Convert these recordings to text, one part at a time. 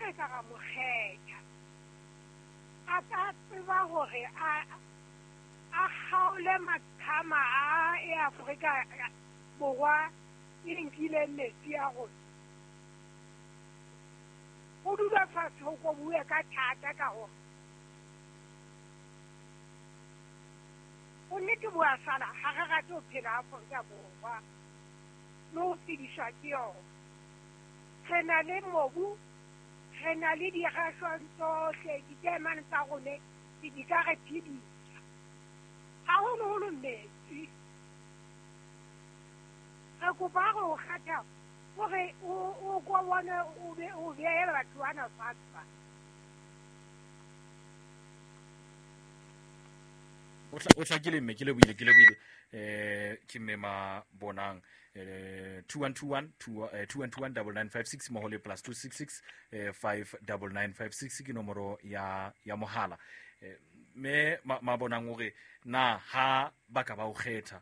re ka ra mo kgetha, a ka tseba hore a kgaole maqhama a e Afrika Borwa e nkileng metsi a rona. Ho dula fatshe ho ko bue ka thata ka hore bonnete bo a sala, ha re rate ho phela Afrika Borwa le ho phediswa ke yona. Re na le mobu, re na le dirashwang tsohle, ditaemane tsa rone di ka re phedisa, haholoholo metsi. Re kopa re o kgetha hore o ko bone o behe batho bana fatshe ba. O hlakile mme, ke lebohile, ke lebohile. Ke mme ma bonang 2121 2121 9956 mmoho le plus 266 59956 ke nomoro ya mohala. Mme ma bonang hore na ha ba ka ba o kgetha,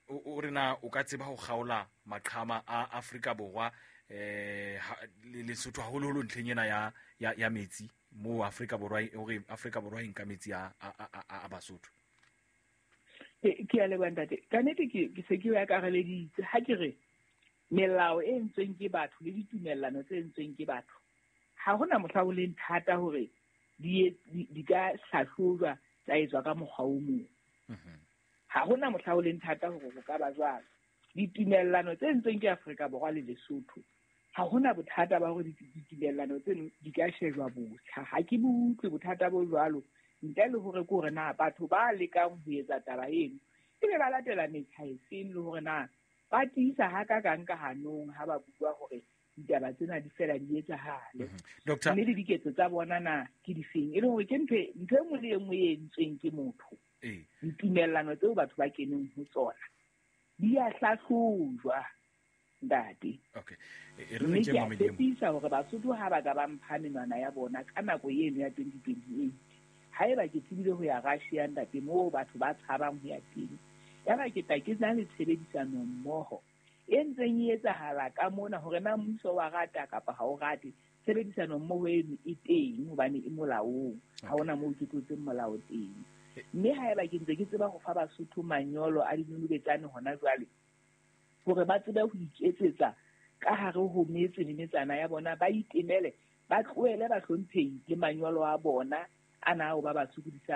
o re na o ka tseba ho kgaola maqhama a Afrika Borwa Lesotho haholoholo ntlheng ena ya metsi mo Afrika Borwa, hore Afrika Borwa e nka metsi a Basotho. Ke a leboha ntate. Ka nnete ke se ke akareleditse ha ke re melao e entsweng ke batho le ditumellano tse entsweng ke batho, ha hona mohla ho leng thata hore di ka hlahlojwa tsa etswa ka mokgwa o mong. Ha hona mohla ho leng thata hore ho ka ba jwalo. Ditumellano tse entsweng ke Afrika Borwa le Lesotho, ha hona bothata ba hore ditumellano tseno di ka shejwa botjha. Ha ke bo utlwe bothata bo jwalo, ntle le hore ke hore na batho ba lekang ho etsa taba eno ebe ba latela metjha efeng, le hore na ba tiisa hakakang ka hanong ha ba bua hore ditaba tsena di fela di etsahale. Mme le diketso tsa bona na ke difeng, e le hore ke ntho e nngwe le e nngwe e entsweng ke motho. Ditumellano tseo batho ba keneng ho tsona di a hlahlojwa, ntate. Mme ke a tshepisa hore Basotho ha ba ka ba mpha menwana ya bona ka nako eno ya 2028, haeba ke tsebile ho ya Russia, ntate, moo batho ba tshabang ho ya teng, yaba ke tla ke na le tshebedisano mmoho e ntseng e etsahala ka mona, hore na mmuso wa rata kapa ha o rate, tshebedisano mmoho eno e teng hobane e molaong, ha hona moo ke tlotseng molao teng. Mme haeba ke ntse ke tseba ho fa Basotho manyolo a dinonobetsane hona jwale, hore ba tsebe ho iketsetsa ka hare ho metse le metsana ya bona, ba itemele, ba tlohele bahlomphehi le manyolo a bona ana ao ba ba sokodisang.